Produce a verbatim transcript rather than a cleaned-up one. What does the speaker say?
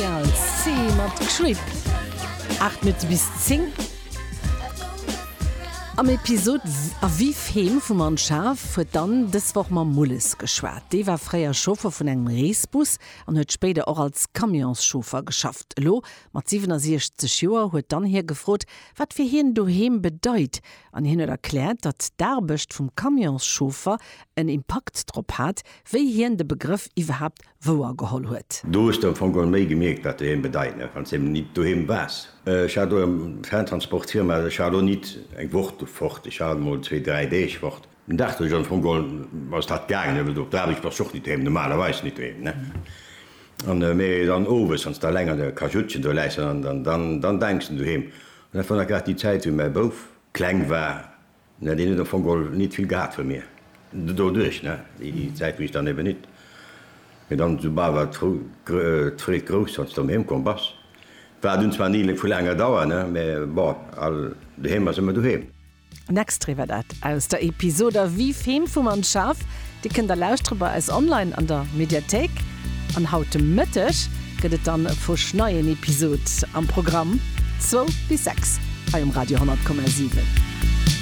Royal Sea mat Creep. Aacht Minutte bis zéng. Am Episod A Vif Heem vum Anne Schaaf huet d'Anne dës Woch mam Mulles geschwat. Dee war fréier Chauffer vun engem Reesbus an huet spéider och als Camionschauffer geschafft. Elo mat siwenasiechzeg Joer huet d'Anne hie gefrot, wat fir hien doheem bedeit. An hien huet erkläert, datt d'Aarbecht vum Camionschauffer en Impakt drop hat, wéi hien de Begrëff iwwerhaapt wouer geholl huet. Do hues de am Fong geholl méi gemierkt, wat doheem bedeit, ne, wann s de eben nit doheem waars. Ech hat do eng Ferntransportfirma, ech war do nit eng Woch do fort, ech war emol zwee, dräi Deeg fort. Den Dag do ech am Fong geholl ass dat gaangen, ne, well op der Aarbecht bass de och nit doheem, normalerweis nit doheem, ne. An mee dann owes, wann s de alleng an der Kajuttchen do läis, dann, dann, dann, dann denks de un doheem. An dat war nach grad déi Zäit, wéi mäi Bouf kleng war, ne, deen huet am Fong geholl nit vill gehat vu mir. Doduerch, ne, déi Zäit wou ech dann eben nit. Mee dann soubal war d'Freed grouss, wann s de erëm heem komm bass. War dunn zwar ni vu laanger Dauer, ne, mee bon, all doheem ass ëmmer doheem. En Extrait war dat aus der Episod A Vif Heem vum Anne Schaaf. Dir kënnt der lauschtere bei eis online an der Mediathéik. An haut de Mëtteg gëtt et dann e fuschneien Episod am Programm, zwou bis sechs hei um Radio honnert Komma siwen.